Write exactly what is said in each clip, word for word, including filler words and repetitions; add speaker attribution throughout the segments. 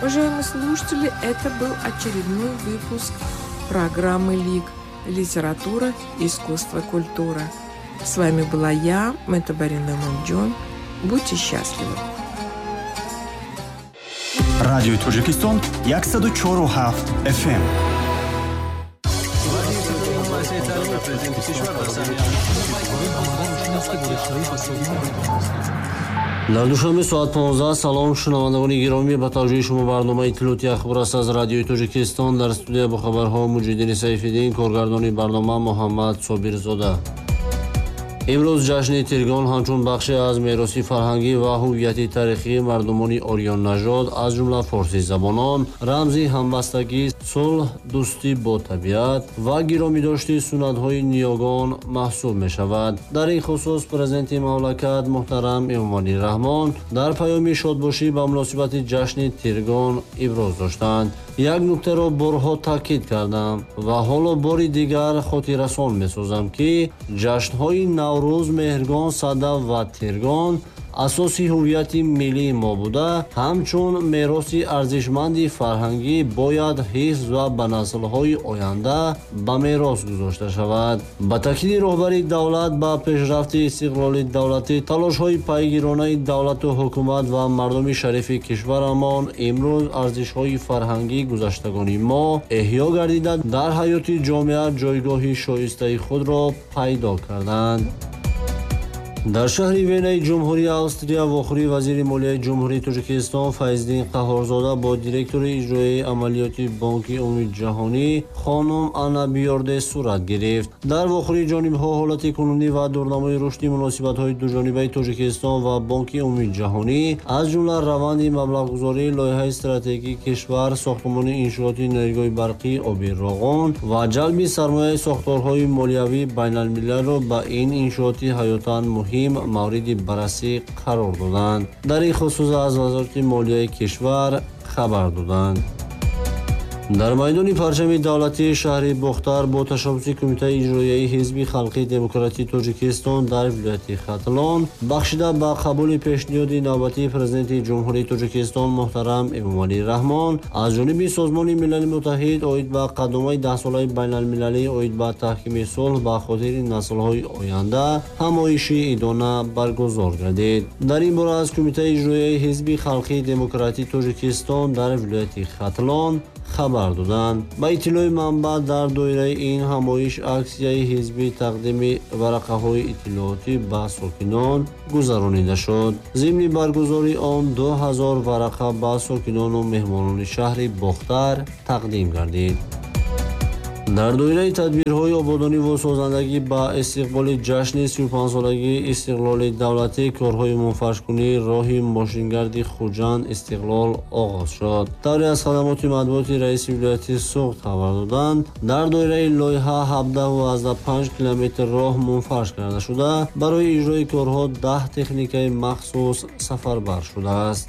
Speaker 1: Уважаемые слушатели, это был очередной выпуск программы «Лик. Литература, искусство, культура». С вами была я, Мэтабарина Мамджон. Будьте счастливы!
Speaker 2: Радиои Тоҷикистон яксаду чору ҳафт F M.
Speaker 3: Дар душанбе соат понздаҳ. Салом, шунавандагони гиромӣ, ба таваҷҷӯҳи шумо барномаи иттилооти ахбор аст аз Радиои Тоҷикистон. Дар студия бо хабарҳо Муҷиддини Сайфиддин, коргардони барнома Муҳаммад Собирзода. Имрӯз ҷашни Тиргон ҳамчун бахше аз мероси фарҳангӣ ва ҳуввияти таърихии мардумони ориённажод, аз ҷумла форсизабонон, рамзи ҳамбастагӣ, сулҳ, дӯстӣ бо табиат ва гиромидошти суннатҳои ниёгон маҳсуб мешавад. Дар ин хусус президенти мамлакат муҳтарам Эмомалӣ Раҳмон дар паёми шодбошӣ ба муносибати ҷашни Тиргон иброз доштанд. Як нуктаро борҳо таъкид кардам ва ҳоло бори дигар хотиррасон месозам, ки ҷашнҳои Наврӯз, Меҳргон, Сада ва Тиргон асоси ҳуввияти миллии мо буда, ҳамчун мероси арзишманди фарҳангӣ бояд ҳифз ва ба наслҳои оянда ба мерос гузошта шавад. Ба таъкиди роҳбари давлат, ба пешрафти истиқлоли давлатӣ, талошҳои пайгиронаи давлату ҳукумат ва мардуми шарифи кишварамон имрӯз арзишҳои фарҳангии гузаштагони мо эҳё гардида, дар ҳаёти ҷомеа ҷойгоҳи шоистаи худро пайдо карданд. Дар шаҳри Венаи Ҷумҳурии Австрия вохӯрии вазири молияи Ҷумҳурии Тоҷикистон Файздин Қаҳҳорзода бо директори иҷроияи амалиёти Бонки Умумиҷаҳонӣ хонум Анна Бьорде сурат гирифт. Дар вохӯрии ҷонибҳо ҳолати кунунӣ ва дурнамои рушди муносибатҳои дуҷонибаи Тоҷикистон ва Бонки Умумиҷаҳонӣ, аз ҷумла раванди маблағгузории лоиҳаи стратегии кишвар, сохтмони иншооти нерӯгоҳи барқии оби Роғон ва ҷалби сармояи сохторҳои молиявии байналмилалро ба ин иншооти ҳаётан муҳим мавриди баррасӣ қарор доданд. Дар ин хусус аз Вазорати молияи кишвар хабар доданд. Дар майдони парчами давлатии шаҳри Бохтар бо ташаббуси Кумитаи иҷроияи Ҳизби Халқии Демократии Тоҷикистон дар вилояти Хатлон, бахшида ба қабули пешниҳоди навбатии Президенти Ҷумҳурии Тоҷикистон муҳтарам Эмомалӣ Раҳмон аз ҷониби Созмони Милали Муттаҳид оид ба қадомаи даҳсолаи байналмилалӣ оид ба таҳкими сулҳ ба хотири наслҳои оянда, ҳамоиши идона баргузор гардид. Дар ин бора аз Кумитаи иҷроияи Ҳизби Халқии Демократии Тоҷикистон дар вилояти Хатлон хабар доданд. Ба иттилои манбаъ, дар доираи ин ҳамоиш аксияи ҳизбӣ тақдими варақаҳои иттилоотӣ ба сокинон гузаронида шуд. Зимни баргузории он ду ҳазор варақа ба сокинону меҳмонони шаҳри Бохтар тақдим гардид. Дар доираи тадбирҳои ободонӣ ва созандагӣ ба истиқболи ҷашни сию панҷсолагии истиқлоли давлатӣ корҳои мунфаршкунии роҳи мошингарди Хуҷанд Истиқлол оғоз шуд. Тавре аз хадамоти матбуоти раиси вилояти Суғд хабар доданд, дар доираи лоиҳа ҳабдаҳ километр роҳ мунфарш карда шуда, барои иҷрои корҳо даҳ техникаи махсус сафарбар шудааст.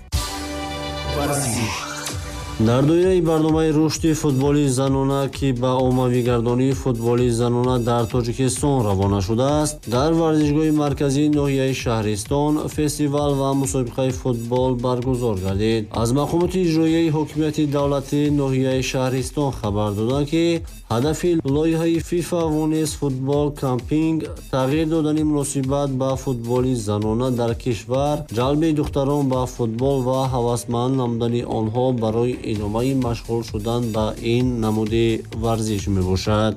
Speaker 3: Дар доираи барномаи рушди футболи занона, ки ба оммавигардонии футболи занона дар Тоҷикистон равона шудааст, дар варзишгоҳи марказии ноҳияи Шаҳристон фестивал ва мусобиқаи футбол баргузор гардид. Аз мақомоти иҷроияи ҳокимияти давлатии ноҳияи Шаҳристон хабар доданд, ки ҳадафи лоиҳаи FIFA Women's Football Campaign тағйир додани муносибат ба футболи занона дар кишвар, ҷалби духтарон ба футбол ва ҳавасманд намудани онҳо барои идомаи машғул шудан ба ин намуди варзиш мебошад.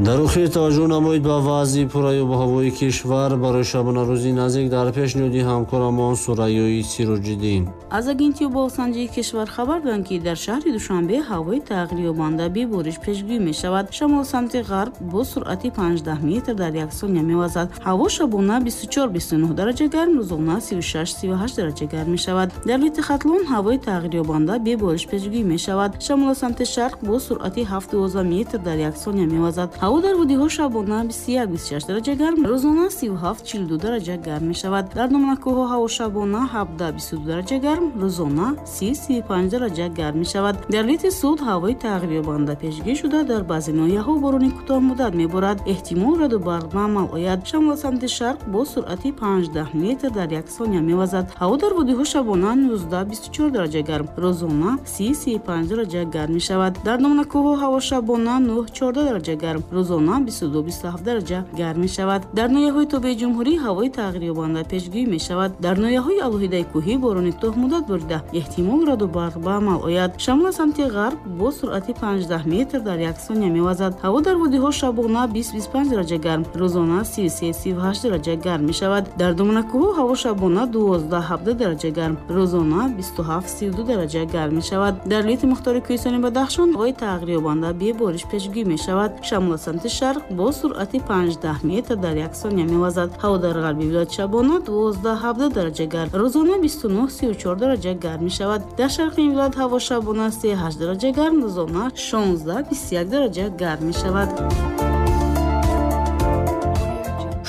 Speaker 3: Дар охир таваҷҷӯҳ намоед ба вазъи пурраи обуҳавои кишвар барои шабонарӯзи наздик дар пешниҳоди ҳамкорамон Сурайёи Сироҷиддин.
Speaker 4: Аз агентии обуҳавосанҷии кишвар хабар доданд, ки дар шаҳри Душанбе ҳавои тағйирёбанда бебориш пешгӯӣ мешавад. Шамол самти ғарб бо суръати панҷдаҳ метр дар як сония мевазад. Ҳаво шабона бисту чор бисту нӯҳ дараҷа гарм, рӯзона сию шаш сию ҳашт дараҷа гарм мешавад. Дар вилояти Хатлон ҳавои тағйирёбанда бебориш пешгӯӣ мешавад. Шамол самти шарқ бо суръати ҳафт дувоздаҳ метр дар як сония мевазад. Ҳаво дар водиҳо шабона бисту як бисту шаш дараҷа гарм, рӯзона сию ҳафт чилу ду дараҷа гарм мешавад. Дар доманакӯҳҳо ҳаво шабона ҳабдаҳ бисту ду дараҷа гарм, рӯзона си сию панҷ дараҷа гарм мешавад. Дар вилояти Суғд ҳавои тағйирёбанда пешгӯӣ шуда, дар баъзе ноҳияҳо борони кӯтоҳмуддат меборад. Эҳтимол раъду барқ ба амал ояд. Шамол самти шарқ бо суръати панҷдаҳ метр дар як сония мевазад. Ҳаво дар водиҳо шабона нуздаҳ бисту чор дараҷа гарм, рӯзона си сию панҷ дараҷа гарм мешавад. Дар доманакӯҳҳо ҳаво шабона нӯҳ чордаҳ дараҷа гарм, рӯзона бисту ду бисту ҳафт дараҷа гарм мешавад. Дар ноҳияҳои тобеи ҷумҳурӣ ҳавои тағйирёбанда пешгӯӣ мешавад. Дар ноҳияҳои алоҳидаи кӯҳӣ борони кӯтоҳмуддат борида, эҳтимол раъду барқ ба амал ояд. Шамол самти ғарб бо суръати панҷдаҳ метр дар як сония мевазад. Ҳаво дар водиҳо шабона бист бисту панҷ дараҷа гарм, рӯзона сию се сию ҳашт дараҷа гарм мешавад. Дар доманакӯҳҳо ҳаво шабона дувоздаҳ ҳабдаҳ дараҷа гарм, рӯзона бисту ҳафт сию ду дараҷа гарм мешавад. Дар вилояти мухтори кӯҳистони Бадахшон ҳавои тағйирёбанда бебориш пешгӯӣ мешавад. Шамол самти шарқ бо суръати панҷдаҳ метр дар як сония мевазад. Ҳаво дар ғарби вилоят шабона дувоздаҳ ҳабдаҳ дараҷа гарм, рӯзона бисту нӯҳ сию чор дараҷа гарм мешавад. Дар шарқи ин вилоят ҳаво шабона се ҳашт дараҷа гарм, рӯзона шонздаҳ бисту як дараҷа гарм мешавад.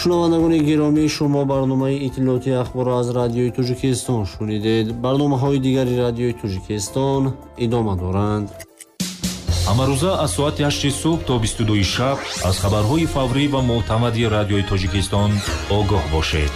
Speaker 3: Шунавандагони гиромӣ, шумо барномаи иттилоотии ахборро аз Радиои Тоҷикистон шунидед. Барномаҳои дигари Радиои Тоҷикистон идома доранд.
Speaker 5: Ҳамарӯза аз соати ҳашти субҳ то бисту дуи шаб аз хабарҳои фаврӣ ва мӯътамади Радиои Тоҷикистон огоҳ бошед.